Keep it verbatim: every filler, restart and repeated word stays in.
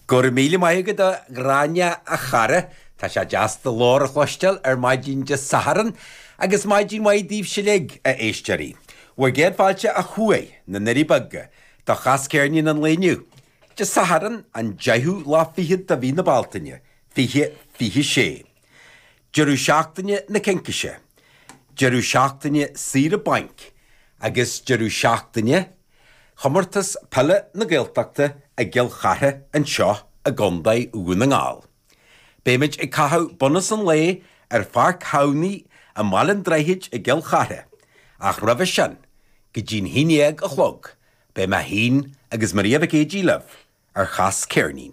Go raibh míle maith agat a Ghráinne a chara, tá sé deas do ghlór a chloisteáil ar maidin Dé Sathairn agus maidin mhaith daoibhse uilig, a éisteoirí. Bhur gcéad fáilte ó thuaidh na nDoirí Beaga do Chas Ceirnín an lae inniu. Dé Sathairn an deichiú lá fichead de mhí na Bealtaine, fiche fiche sé. Deireadh seachtaine na Cincise, deireadh seachtaine saoire bainc agus deireadh seachtaine Chomórtas Peile na Gaeltachta i gCill Chartha anseo i gContae Dhún na nGall. Beimid ag caitheamh bunús an lae ar Pháirc Thamhnaigh i mBaile an Droichid i gCill Chartha, ach roimhe sin, go dtí'n haon dhéag a chlog, beidh mé féin agus Maria Mhic Géidigh libh ar Chas Ceirnín.